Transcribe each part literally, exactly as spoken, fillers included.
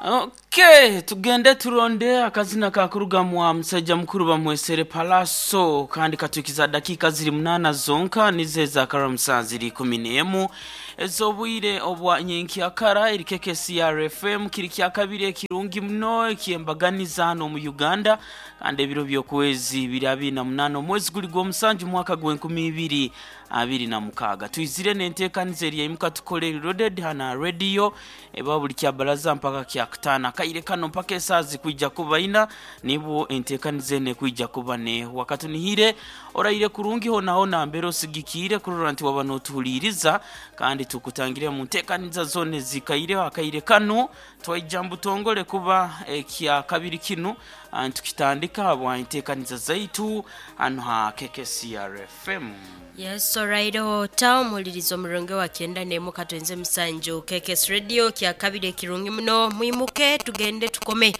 Okay, tugende turonde akazina kakuruga mwa musajja mukuru bamwesere Palaso, kandi katukiza dakika ziri munana zonka nize za karamusa ziri kumi n'emu ez'obwire obwa nyenkyakara. Eri K K C R F M, kiri kya kabiri ekirungi muno ekyembaganiza hano mu Uganda, kandi ebiro by'okwezi biri abiri na munaana, omwezi guli gw'omusanju, mwaka gw'enkumi ibiri abiri na mukaaga. Twizire n'enteekaniza eri yaimuka tukole loaded hana radio eba buli kya baraza mpaka kya kutaano, akaire kano mpaka esaaha zikwija kuba ina, nibwo enteekaniza eno ekwija kuba nehwa. Katunihire oraire kurungi hona hona mbere osigikiire kurora nti waba notuhuliiriza, kandi tukutangire mu nteekaniza zona ezikaireho. Akaire kano twaija mbutongole kuba ekya kabiri kinu, ah, ntukitandika habwa enteekaniza zaitu hano ha K K C R F M. Yes, alright, ta omuwuliriza omurungi wa kyenda n'emu katwenze musanju K K S Radio, kya kabiri ekirungi muno. Mwimuke tugende tukome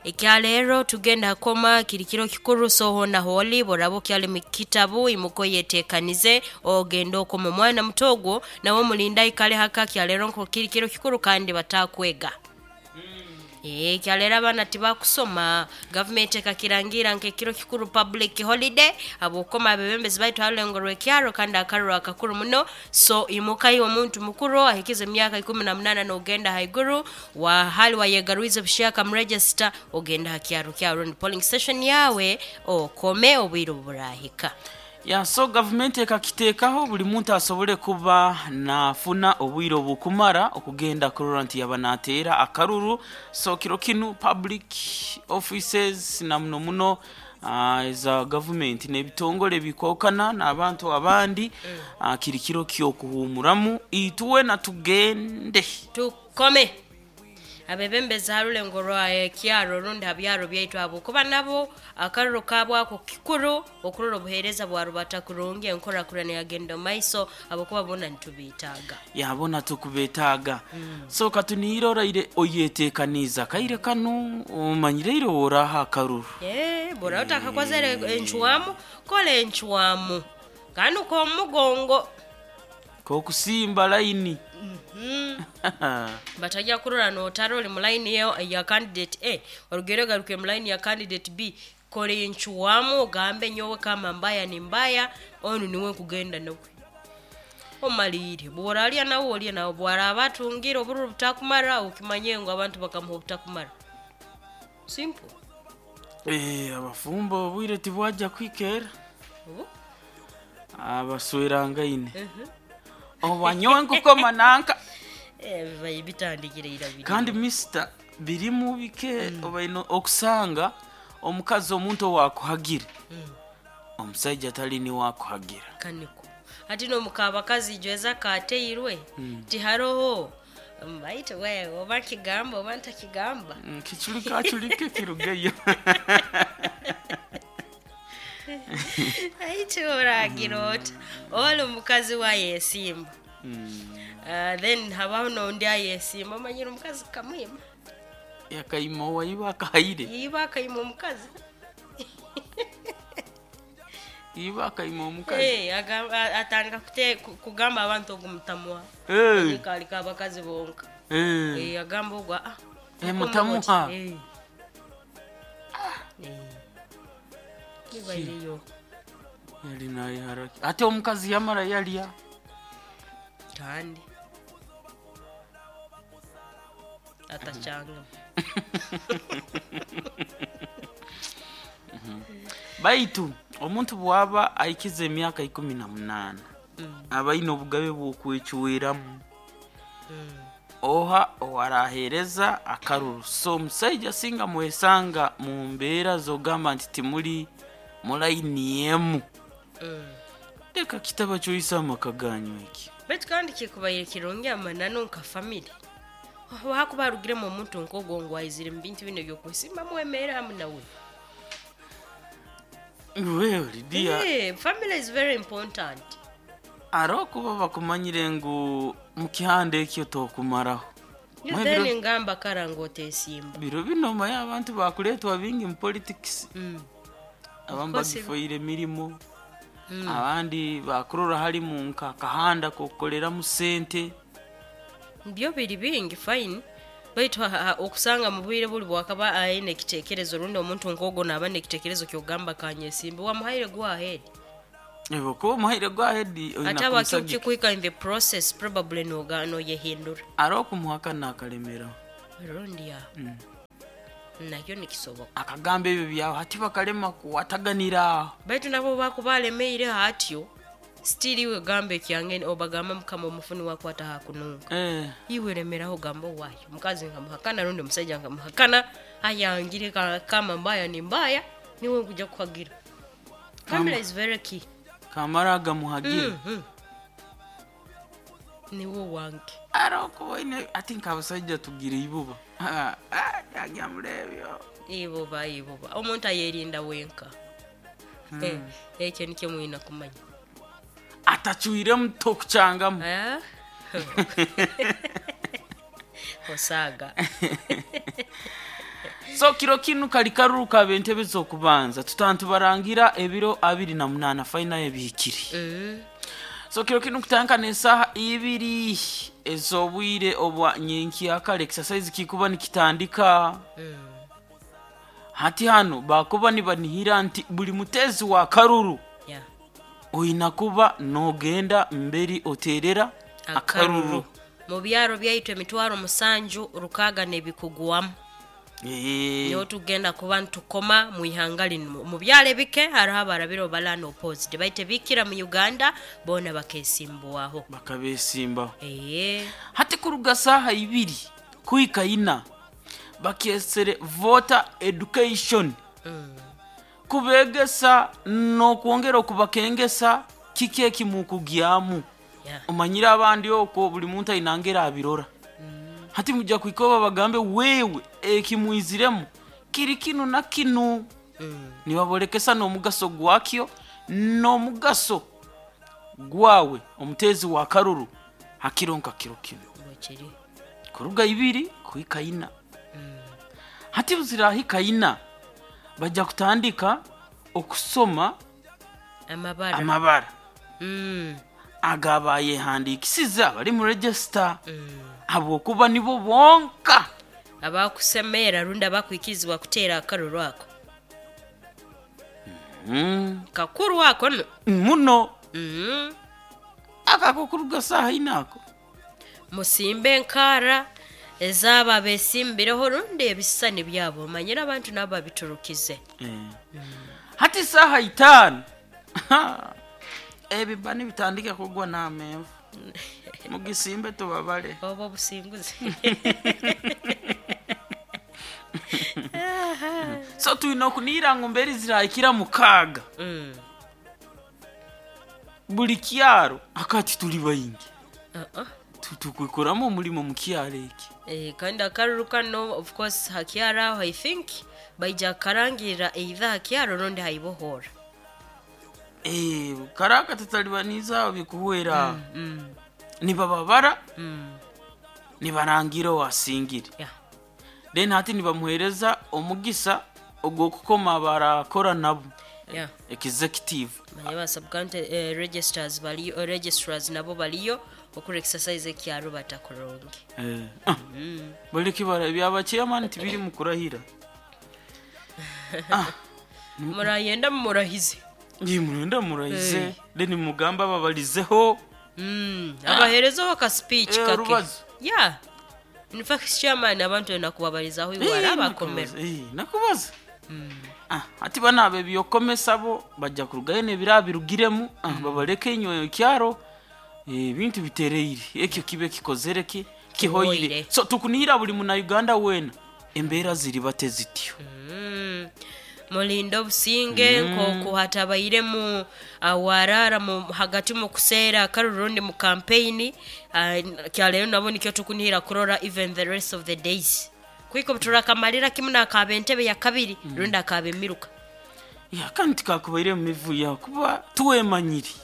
ekyaleero, tugenda koma kiri kiro kikuru. So hona holi boraba okyali mu kitabu, imuka oyeteekanize ogende okoma. Omwana muto ogwo nawe omulinda aikale haka. Kyaleero nko kiri kiro kikuru kandi batakwega. Eh, kyaleero abaana tibakusoma. Gavumenti ekakirangira nk'ekiro kikuru, public holiday, habwokoma abebembezi baitu harulengo rw'ekyaro, kandi akaruru akakuru muno. So imuka iwe omuntu mukuru ahikize emyaka ikumi na munana n'ogenda haiguru, wahali wayegarwize bushaka mu register, ogenda ha kyaro kyawe rundi polling station yawe, okome obwire obuburahika. Ya, so gavumenti ekakiteekaho buli muntu asobole kuba nafuna obwire obukumara okugenda kurora nti yaba nateera akaruru. So kiro kinu public offices na muno muno uh, eza gavumenti n'ebitongole bikwokana n'abantu abandi, uh, kiri kiro kyokuhumuramu. Ituwena tugende tukome abebembezi harulengo rwa ekyaro rundi ha byaro byaitu, habwokuba nabo akaruru kabwako kikuru okurora obuheereza bwarubata kurungi, enkorakurana yagenda omu maiso, habwokuba bona nitubiitaaga. Yabona tukubetaaga mm. So katunihire oraire oyetekaniza kaire kanu, omanyireire oraha akaruru. Eh, bora utakakozere enchwamu, kola enchwamu kandi ukomugongo. Kokusimba laini. Batajja kurora notara oli mu line ya, ya candidate A, orugere garuke mu line ya candidate B. Kola enchwamu ogambe, nyowe kama mbaya ni mbaya, onu niwe nkugenda nawe. Omalire bworalya nawe olye nawe, bwaraba atungire obururu butakumara, okimanye ngu abantu bakamuha obutakumara. Simple. Eh, abafumbo obwire tibwajja kwikera. Obu? Abaswerangaine oba nyowe nkukoma nanka. Eh, bibaye bitandikire ira biri. Kandi mister birimu bike obaino okusanga omukazi omuntu owakuhagira, omusajja atali niwakuhagira. Kaniko ati nomukabakazi jweza kateirwe tiharoho baitu we oba nkigamba oba ntakigamba. Mm, kiculika aculike kirugeyo. Aitu oragira ota oli omukazi wayesimba, Uh, then habaho nondi ayesimba, omanyire omukazi kamwima. Yakaima owaiba akahaire. Yiba akaima omukazi. Iba akaima omukazi. Eh, agamba- a- atandika kute- ku- kugamba abantu ogu mutamuha. Eh, kalika abakazi bonka. eh. Eh, agamba ogwo, "Ah, Eh, mutamuha. Eh. Eh. Bibaireyo. Yali naye haraki ate omukazi yamara yalya. Kandi atachanga. Baitu omuntu bwaba aikize emyaka ikumi na munaana, aba aine obugabe bw'okwecweramu oha owarahereza akaruru. So omusaija singa mwesanga mu mbeera zogamba nti timuli mulayini emu, leka kitaba kyoyisa amaka ganyu eki. Baitu kandi kikubaire kirungi amananu nka family hakuba harugiremu omuntu nk'ogwo ngu aizire mu bintu bino ebyokusimba mwemere hamu nawe. Wewe Lidia. Eh, family is very important. Aro kuba bakumanyire ngu mukihanda ekyo tokumaraho. You Mwe then biro- ngamba kara ngu otesimba. Biro bino maye abantu bakuletwa bingi mu politics. Mm. Abamu Course. bagifoire emirimo, abandi bakurora halimu nka akahanda kokukoleramu sente. Byo biri bingi, fine. Baitu ha- ha- okusanga mu bwire buli bwakaba aine ekitekerezo, rundi omuntu nkogo naaba nekitekerezo kyogamba kanyesimbe, wamuhaire go ahead. Ebo kuba omuhaire go ahead oyina Ate aba kumusagika. Kikuhika in the process, probably noga noyehindura. Ari okumuhakana akalemera. Rundi ya nakyo nikisoboka. Akagamba ebyo byawe hati bakalema kuwataganira. Baitu nabo bakuba alemeire hatyo, still iwe gamba ekyange, obagamba mukama omufuni wakwata hakununga. Eh, iwe remeraho, gamba owayo mukazi nkamuhakana rundi omusajja nkamuhakana, ayangire ka- kama mbaya ni mbaya, niwe nkuja kuhagira. Family is very key. Kamara agamuhagira. mm niwe wange. Ari okubaine ati nk'abasajja tugira ibuba. Ah, ah, yajya murebyo. Ibuba, ibuba, omuntu ayerinda wenka. Eh, ekyo nikyo mwina kumanya. Atacwiremu tokucyangamu. Eh? Osaaga. So kiro kinu kali karuru kaba entebe z'okubanza, tutantubarangira ebiro abiri na munana fayina ebihikiri. Mm. So kiro kinu kutandika n'esaaha ibiri ez'obwire obwa nyenkyakare, exercise kikuba nikitandika. Mm. Hati hano bakuba nibanihira nti buli mutezi wa karuru Yeah. oyina kuba nogenda mberi oterera akaruru. Mu byaro byaitu emitwaro musanju rukaaga n'ebikugwamu. Eh, niho tugenda kuba ntukoma mu ihanga linu. Mu byalo ebike hariho abarabire obalana opposite, baitu ebikira mu Uganda boona bakesimbwaho. Bakabesimbaho. Ee. Hati kuruga saaha ibiri kuhika ina bakesere voter education, Mm. kubegesa n'okwongera okubakengesa kiki ekimukugyamu. Yeah. Omanyire abandi okwo buli muntu ainangera abirora. Hati mujja kuhika oba bagambe wewe ekimwiziremu kiri kinu na kinu. Mm. Nibabolekesa n'omugaso gwakyo n'omugaso gwawe omutezi wa karuru hakiro nka kiro kino. Bwekiri. Kuruga ibiri kuhika ina. Hati buzirahika ina bajja kutandika okusoma amabara. Amabara Mm. agabayehandikisize abali mu register, Mm. habwokuba nibo bonka abakusemeera rundi abakwikirizibwa kuteera akaruru ako. mm. Kakuru ako no. Muno. Mm. Akako kuruga saaha ina ako. Musimbe enkaara ezaaba besimbireho rundi ebisisani byabo, omanyire abantu nabo babiturukize. Eh. Hati saaha itaano ebiba nibitandika kugwa n'amenvu, mugisimbe tubabale. Oba obusinguzi. So tulina okunihira ngu mberi zirahikira mukaaga, Mm. buli kyaro akati tuli baingi. Uh-uh. Tu- tukwikoramu omulimo mu kyaro eki. Eh, kandi akaruru kano of course hakyaro aho, I think baija karangirira either hakyaro rundi haibohora. Eh, karaka tutalibaniza aho bikuhwera, mm. nibababara, Mm. nibarangira owasingire. Yeah. Then hati nibamuhereza omugisa ogw'okukoma barakora nabo, Yeah. executive. Manye ba subcounty eh, registers baliyo, eh, registrars nabo baliyo okura exercise ekyaro batakuronge. Eh, ah, baleke bara byaba chairman tibiri mu kurahira. Murayenda murahize. Ngi murenda murahize. Eh. Then mugamba babalizeho. Mm. Abaherezaho ka speech Eh, kake. Rubazo. Yeah, in fact chairman abantu nakubabarizaho iwara Eh, abakomero. nakubaza, eh, nakubaza. Ah, ati bana bebyokomesa bo bajja kurugayo nebira birugiremu, ah, babaleke enyoyo kyaro, eh, ebintu bitereire ekyo kibe kikozere ki kihoire. Kihoire. So tukunihira buli muna Uganda wena embeera ziri bate zityo. Mm. Mulinde obusinge nkoku hatabairemu awarara mu hagati mu kuseera akarurundi mu campaign. Kyaleero nabo nikyo tukunihira kurora even the rest of the days kwiko turakamalira kimu nakaba entebe ya kabiri rundi akaba emiruka. Ya kandi tikakubaire mu mivuyo kuba tuwemanyiri.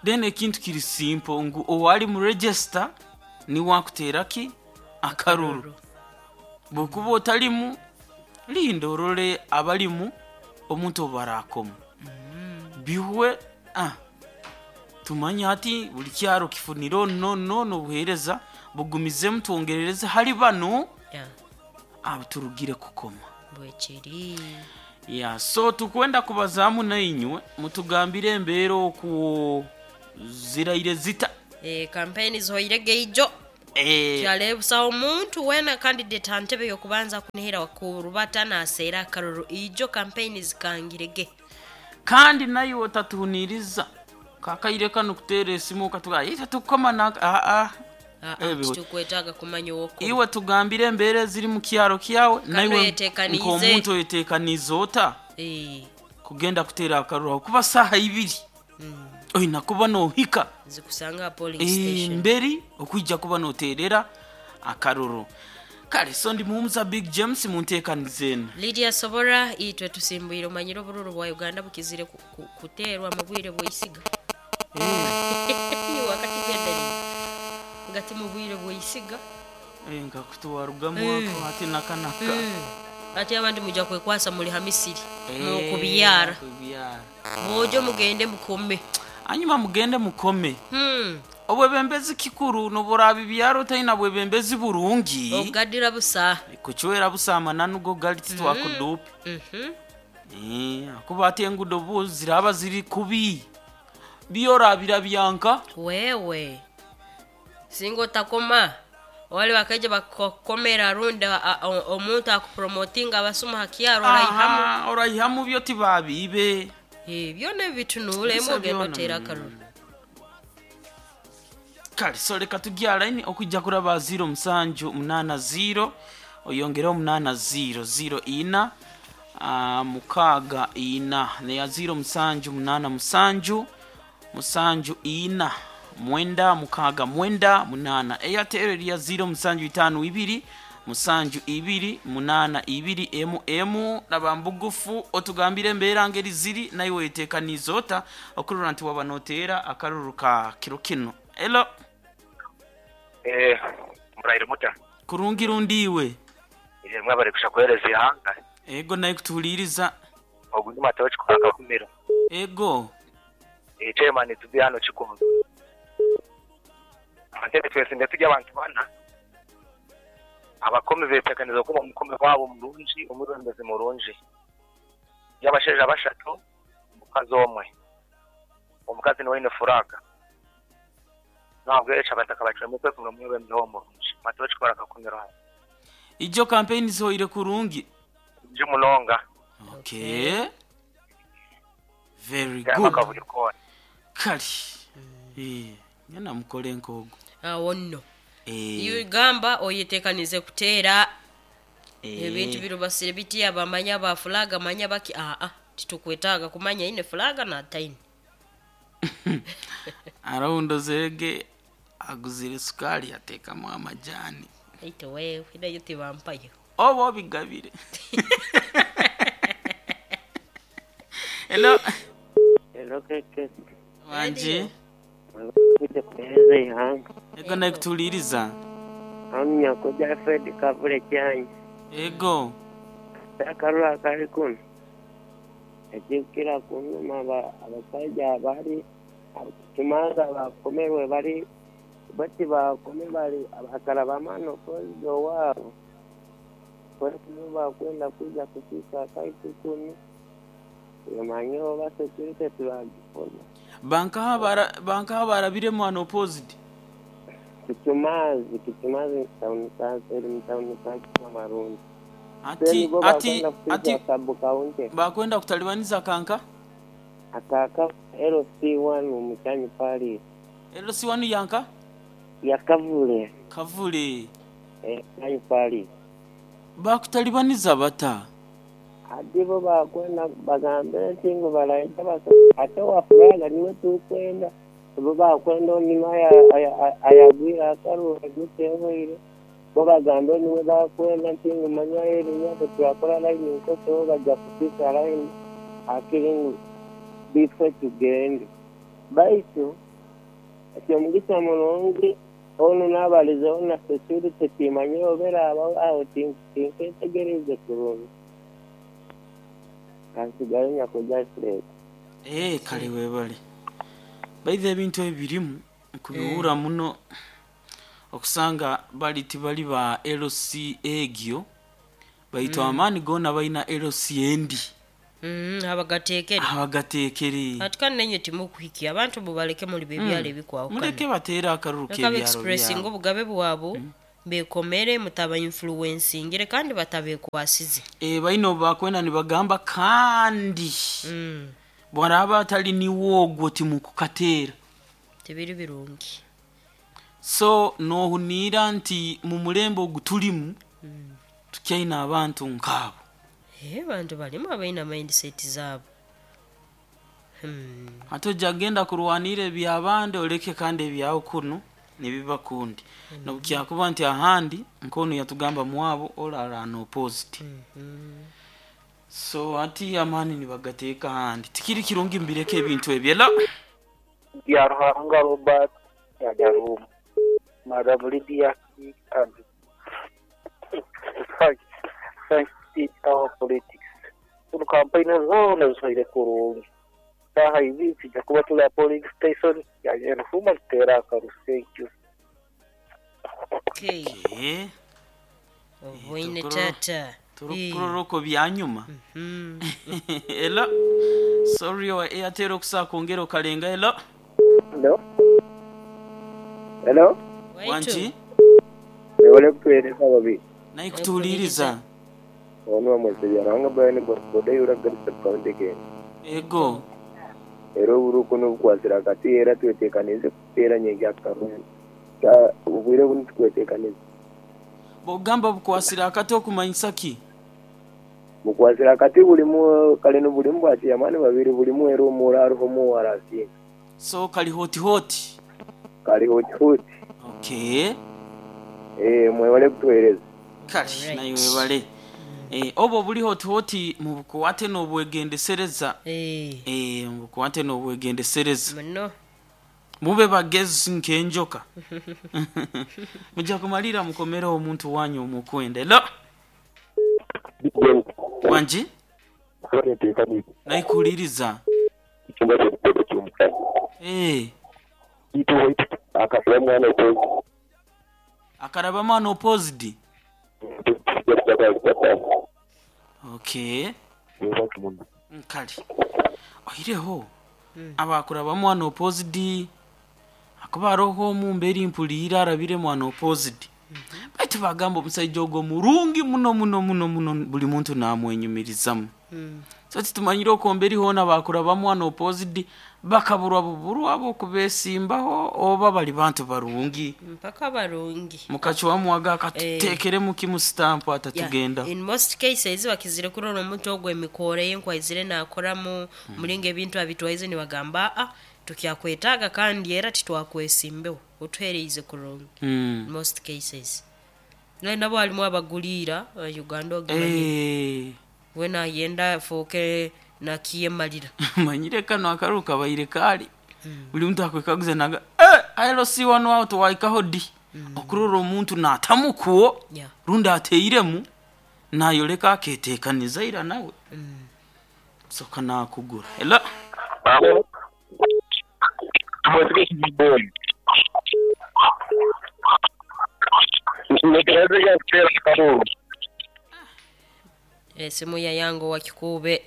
Then ekintu kiri simple ngu owali mu register niwakuteera ki akaruru, bwokuba otalimu linda orole abalimu omuntu obarakoma bihwe. Ah, tumanye hati buli kyaro kifunire ono nono obuheereza Bugumizemu twongerereze hali bano Yeah. abaturugire kukoma. Bwekiri. Ya, so tukwenda kubazaamu nainywe mutugambire embeera oku ziraire zita. Eh, campaign zihoire geijo. Eh, Kyalebusa omuntu wena candidate antebe yokubanza kunihira kurubata naseera akaruru ijo campaign zikangirege. Kandi naye otatuhuniriza kakaire kano kuteera esimu okatuga ita tukoma na a Ah, a ah, tukwetaaga kumanya owokoma. Iwe tugambire embeera eziri mu kyaro kyawe naiwe oyeteekanize. nk'omuntu oyeteekanize ota Eh, kugenda kuteera akaruru aho kuba saaha ibiri oyina kuba nohika zikusanga polling station. Emberi okwijja kuba noteerera akaruru. Kale so ndi muhumuza Big James munteekanize eno. Lydia Sobora itwe tusimbwire omanyire obururu bwa Uganda bukizire ku- ku- kuteerwa mu bwire bw'eisiga. Eh, Wakakigendereye ngati mu bwire bw'eisiga. Eh, nga kutuwarugamu ako ate nakanaka. Ate abandi mujja kwekwasa muli hamisiri Eh, mukubyara kubyara. mwojo mugende mukome. Hanyuma mugende mukome. Hmm. Obwebembezi kikuru noburaba ibyaro otalina bwebembezi burungi. Ogadira busa. Kuchwera busama nanugo gali titwakudupe. Mhm. Eh, kuba ate engudo bu ziraba ziri kubi byorabira byanka. Wewe singa otakoma wali bakaija bakukomera rundi a- a- o- omuntu akupromotinga abasuma hakyaro oraihamu. Aha, oraihamu byo tibabibe. Eh, byona bitunuulemu Bisa ogenda byona. oteera akaruru. Kale so leka tujya line okujja kuraba zero musanju munana zero oyongereho munana zero zero ina ah, mukaaga ina neya zero musanju munana musanju musanju ina mwenda mukaaga mwenda munana. Eyatero eriya zero musanju itaano ibiri musanju ibiri munana ibiri emu emu. Laba mbugufu otugambire embeera ngeri ziri naye weteekaniza ota okurora nti waba noteera akaruru ka kiro kino. Elo. Eh, murayire muta. Kurungi rundiwe. Eh, mwabari kusha kuhereza ihanga. Ego naye kutuhuliriza. Ogundi matawe chikwaka kumira. Ego. Eh, chairman tubi hano chikundu. Antebe twese ndetujya abantu bana. Abakomi betekaniza kuba omukome wabo murungi, omurembezi murungi. Yabasheja bashatu, omukazi omwe. Omukazi niwe ine furaga. Ntabwo yecha abataka bacwemu kwe kumwe mwebembezi wo murungi. Matawe chikwaka kumira hano. Ijo campaign zihoire kurungi. Ndi munonga. Okay, very Gamba good. kavuyo kone. Kale Eh, ngenda mukole nkogo. Awo nno Eh, ugamba oyeteekanize kuteera eh. ebintu birubasire bitya bamanya ba fulaga manya baki aa titukwetaaga kumanya ine fulaga nataine. Araundo zege aguzire sukali ateekamu amajani. Aite wewe nayo tibampayo. Oba obigabire. Hello. Hello, Keke. Wanji. Mwebale kuhereza ihanga. Ego naye kutuhuliriza. Amnya kuja Fred Kavule Kyanya. Ego. Akaruru akali kuno. Ekikira kunuma aba- abasajja abali kimanza bakomerwe bali bati bakome bali abakala bamano kozi owaabo. Kwekuba bakwenda kuja kukiika akaitu kuno. Omanye oba security tibagifuna. Bankaha bara bankaha barabiremu ano opposite. Kichumazi, Kichumazi town council, eri mu town council Marundi. Ati bo ati bakwenda ati kusiga sub county bakwenda kutalibaniza kanka. akaka L C one omuchanyi pali Elo si wanu yanka yakavule kavule eh chanyi pali bakutalibaniza bata. ati bo bakwenda bagambe nti ngu balaita basa ate wafuraga niwe tukwenda bo bakwenda onima ayagwira akarura gutehoire bo bagambe niwe bakwenda nti ngu manya erinya turakora line nkoso bo bajja kupika line akiri ngu bifo tugende baitu ekyomugisa murungi onu n'abalizeho na security timanyire obera abaho aho tinketegereze kurungi kansigayo nyakuja Fred. Eh, kale webale baitha ebintu ebirimu nkubiwura muno. Okusanga bali tibali ba L C egyo, baitu amaani goona balina L C endi. Mm, abagateekere. Abagateekere. Ati kandi nenye timukuhikia abantu mubaleke muli bebyalo ebikwawukana. Muleke bateere akalulu Leka k'ebyalo beexpressinga byabwe. Obugabe bwabo bekomere, mutaba influencingire kandi batabekwasize. Eh, balina obubakwenda nibagamba kandi Mm, bwaraba atali niwo ogwo timukukateera. Tibiri birungi. So nohuniira nti mu mulembe ogu tulimu tukyaina abantu nkaabo. Eh, bantu balimu abalina mindset zaabo. Hmm. Ate ojja genda kurwanira ebyabandi, oleke kandi ebyawe kuno nibiba kundi nobukyakuba nti ahandi nkonu yatugamba mwabo olala opposite. So ati amaani nibagateeka ahandi, tikiri kirungi, mbireke ebintu ebyo era. Bya Ruhanga Robert Nyarumu, Madam Lydia and thank our politics. Kuno kampeyini zoona zisoire kurungi. Saha ibi tujja kuba tuli a polling station ya Nyanhuma tuteera akaru. Thank you. Okay. Eh, Oboine. Tukuroro- Tata. Turukuroroko byanyuma. Mm. Elo, sorry, wa Airtel okusaa kwongera okalenga. Elo. Hello? Hello? Waitu. Wanki. Webale kutuweereza babiri. Naye kutuwuliriza. Ono wamwese Byaruhanga Brian boda yura Garissa county Kenya. Ego. Era oburuku n'obukwasira akati era tweteekanize kuteera nyingi akarungi. Obwire bunu tukweteekanize. Bwogamba bukwasira akati okumanyisa ki? Bukwasira akati bulimu kale bulimu bwakiyamani babiri, bulimu era omuura hariho omuwara asinga. So kali hot hot. Kali hot hot. Okay. Eh, mwebale kutuweereza. Kale. Alright. Naye webale. Eh, obwo buli hot hot mubukwate n'obwegendesereza. Eh, Eh, mubukwate n'obwegendesereza. Muno. Mube bagezi nk'enjoka, mujja kumalira mukomere omuntu wanyu omukwenda. Elo, wangi. Naikuwuliriza. Eh, Akasira mwana. Akaraba mwana opposed. Okay, nkale oireho abakuraba mwana opposed, akuba aroho omumberi mpuliire arabire mwana opposed, baitu bagamba omusajja ogwo murungi muno muno muno muno, buli muntu namwenyumirizamu. Mm. So titumanyire okomberi hoona bakuraba mwana opposed bakaburwa buburwa bokubesimbaho oba bali bantu barungi. Mpaka barungi. Mukacwamuwaga akatuteekeremu kimu sitampu atatugenda. Yeah. In most cases bakizire kurora omuntu ogwo emikoro ye nkwaizire nakoramu mulinga ebintu abitwaize, nibagamba a tukyakwetaaga kandi era titwakwesimbeho, otuhereize kurungi. Mm. In most cases naye nabo halimu abaguliira eh, Uganda ogimanyi. Eh, we nayenda afuuke nakiyemalira. Manyire kano akaru kabaire kali buli muntu akwekaguza naga eh, aero si wano awo towaikaho ddi okurora omuntu natamukuwo Yeah. rundi ateiremu nayoleka aketekaniza ira nawe soka nakugura ela. Esimu ya yango wa Kikuube.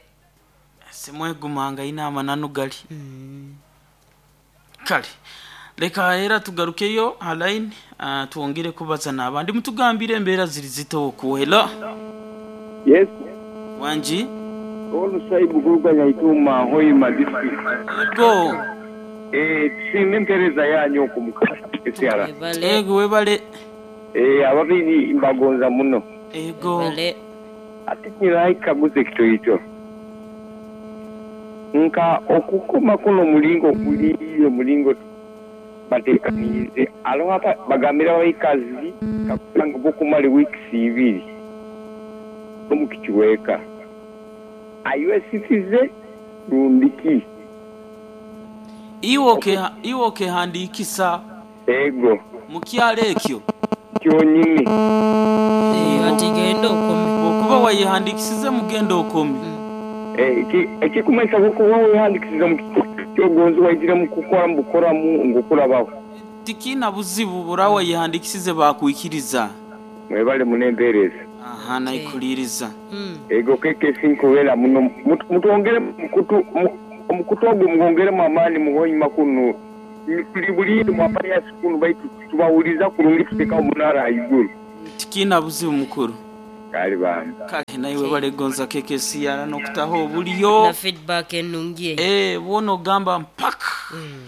Simwegumanga ina amananu gali. Kale leka era tugarukeyo halaini, uh, twongere kubaza n'abandi mutugambire embeera ziri zita okuhela. Yes. Wangi. Olusaibu kuluganya Ituma Hoima district. Ego. Eh, tusiime empeereza yanyu okumukasyara. Ebale. Ego, webale. Eh, ababiri mbagonza muno. Ego. Ebale. Ate nyiraikaguza ekitoito nka okukoma kuno omulingo guli omulingo bateekaniize aloho aba- bagambira abaikazi kakubanga bokumala weeks ibiri omukikiweeka ayiwesisize rundiki. Iwe okeha- iwe okehandikisa Ego. Mukyalo ekyo. Kyonyini. Eh, ati genda okome. Okuba wayehandikisize mugenda okome. Eh, eki- ekikumanyisa kukuba wehandikisiza mu kyogonzi waizire mu kukora mubukoramu ngukurabaho. Tikina buzibu burawa yihandikisize bakwikiriza. Mwebale munempereza. Aha, naikuliriza. Mm. Ego keke sinkubera muno mutwongere mukutu omukutu ogwo mugwongeremu amaani muhonyuma kuno tuli buli mwapaya sikunu baitu tubawuliza kurungi tuteka omunara haiguru. Tikina buzibu mukuru. Kale bana. Kale naiwe balegonza keke siyara nokutaho obuliyo. Na feedback enungi. Eh, wono gamba mpaka. Mm.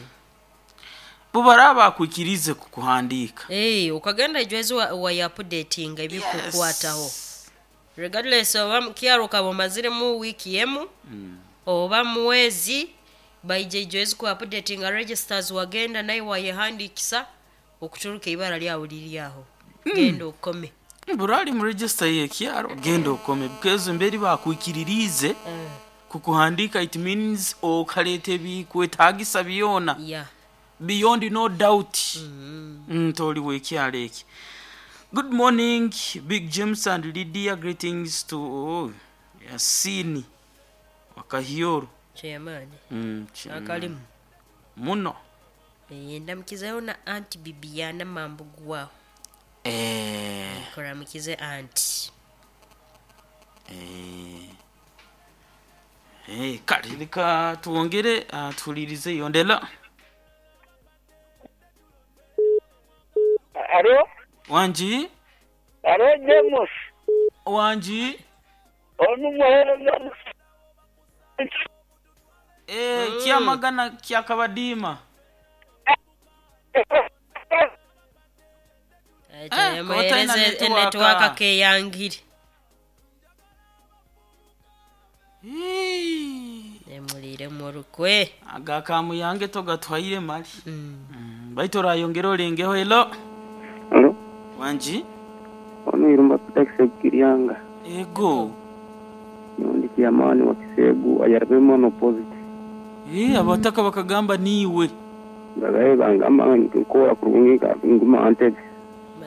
Bubaraba kwikirize kukuhandika. Eh, ukagenda ijwezi wa, wa updating ebikukwataho. Yes. Regardless oba kyaro kabo mazire mu wiki emu. Mm. Oba mwezi baije ijwezi ku updating registers wagenda naye wayehandikisa okuturuka ibara lyawo liri aho. Mm. Genda okome. Burali mu register ye kyaro genda okome because mberi bakwikiririze Mm. kukuhandika it means okalete bikwetagisa byona. Yeah. Beyond no doubt. Mm. Mm, toli wekyalo eki. Good morning Big James and Lydia, greetings to oh, Yasini Wakahioro. Chairman. Mm, chairman. Akalimu. Muno. Eh, ndamukizayo na Auntie Bibiana Mambugu wao. Eh. Koramukize auntie. Eh. Eh, kale leka tuwongere uh, tulirize yondela. Alo? Wanji? Alo James. Wanji? Onu muhereza. Eh, Mm. kyamagana kyakabadima. Eh, Eh, kotaina muhereze network. network keyangire. Hii. Emulire mu rukwe. Agakamu yange togatwaire mali. Mm. Mm, baitu orayongera olengeho elo. Alo, Wanji? ono irumba kutakisa kiryanga. Ego. Nundi kiamani wa Kisegu ayarabemo no positive. Eh, abataka bakagamba niwe. Bagaye bangamba nkora kurungi ka nguma antebe.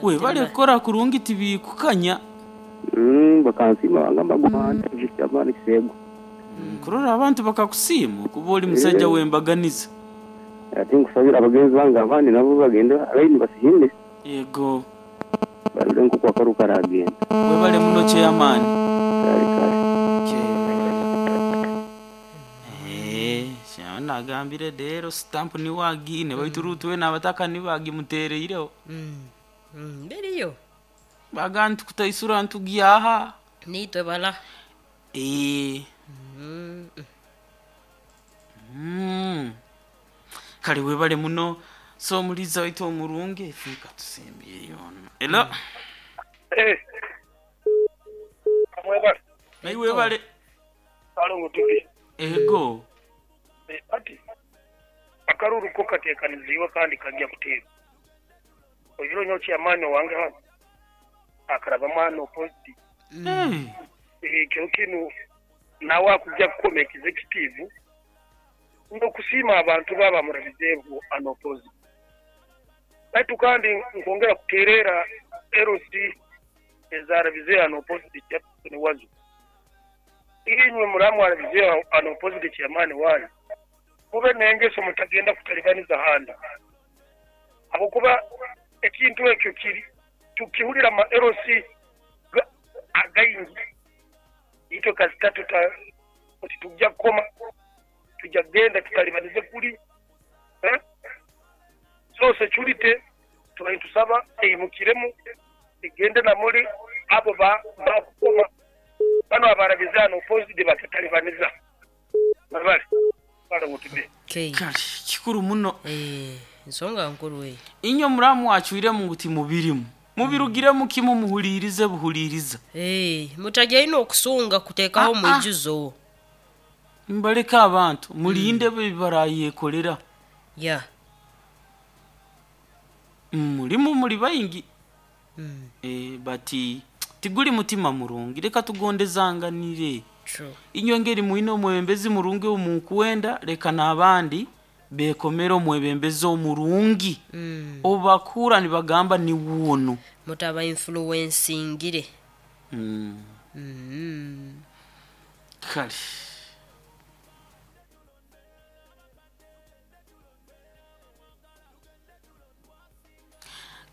We bale kora kurungi tibikukanya. Mm, bakansima bangamba guma antebe kiamani Kisegu. Mm, kurora abantu bakakusiima kuba oli musajja Eh. wembaganiza. Ati nkusabira abagenzi bange abandi nabo bagende abaini basihinde. Ego. Barule nkuko akaruka aragenda. Webale muno chairman. Kale kale. Eh, shana agambire rero stamp ni wagine baitu rutuwe n'abataka nibagimutereireho. Mm. Mm, beriyo. Bagantu kutaisura ntugyaha. Nitwe bala. Eh. Mm. Mm. Kale webale muno so muliza waitu omurungi fika tusembye yono. Elo. Eh. Mwebale. Naye webale. Alongo tubi. Ego. Eh, ati akaruru ko katekaniziwe kandi kajya kuteba. Oyiro nyo chairman wange hano. Akaraba mwana opposite. Eh. Ekyo kinu nawe akujja kukoma executive n'okusiima abantu baba murabizeevu anopozi. Baitu kandi nkwongera kuteerera L C ezarabize anopozi Jackson Wazo. Inywe muramu arabize anopozi chairman wanyu. Mube n'engeso mutagenda kutalibaniza handa. Ahabwokuba ekintu ekyo kiri tukihulira ma L C againgi. Itwe kasita tuta tujja kukoma tujja kugenda tutalibanize kuli eh? So security tubayitusaba eyimukiremu egende namuli abo ba bakukoma bano abarabize hano opposite batatalibaniza babale bale ngutube. Okay. Kale kikuru muno. Eh, nsonga nkuru we. Inyo muramu wachwiremu nguti mubirimu. Mubirugiremu kimu muhulirize buhuliriza. Eh, mutajya ino okusunga kutekaho Ah, ah. mwijuzo. Mbaleka abantu mulinde mm. bibarayekolera. Yeah. Mulimu muli bayingi. Mm. Eh, bati tiguli mutima murungi reka tugondezanganire. True. Inyo ngeri muine omwebembezi murungi omukwenda reka n'abandi bekomera omwebembezi omurungi. Mm. Obakura nibagamba ni wuno. Mutaba influencingire. Mm. Mm. Kale.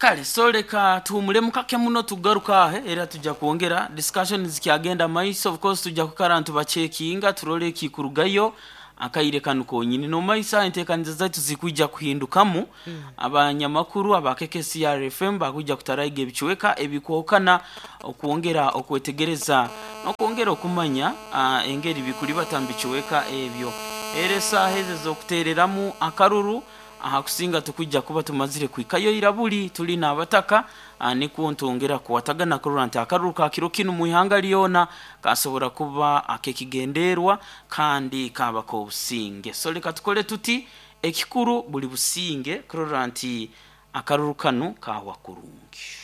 Kale, so leka tuhumulemu kake muno, tugaruka ahe era tujja kwongera discussion zikyagenda maiso. Of course tujja kukara ntubachekinga turole ekikurugayo akaire kanu konyini nomaiso. Enteekaniza zaitu zikwijja kuhindukamu mm. Abanyamakuru aba K K C R F M bakwijja kutaraiga ebichweka ebikwokana okwongera okwetegereza n'okwongera okumanya uh, engeri bikuli batambichweka ebyo. Era esaaha ezo ez'okuteereramu akaruru aha kusinga tukwijja kuba tumazire kwikayo irabuli tuli n'abataka, ah, nikwo ntwongera kuwatagana kurora nti akaruru ka kiro kinu mu ihanga lyona kasobora kuba akekigenderwa kandi kaba k'obusinge. So leka tukole tuti, ekikuru buli businge kurora nti akaruru kanu kawa kurungi.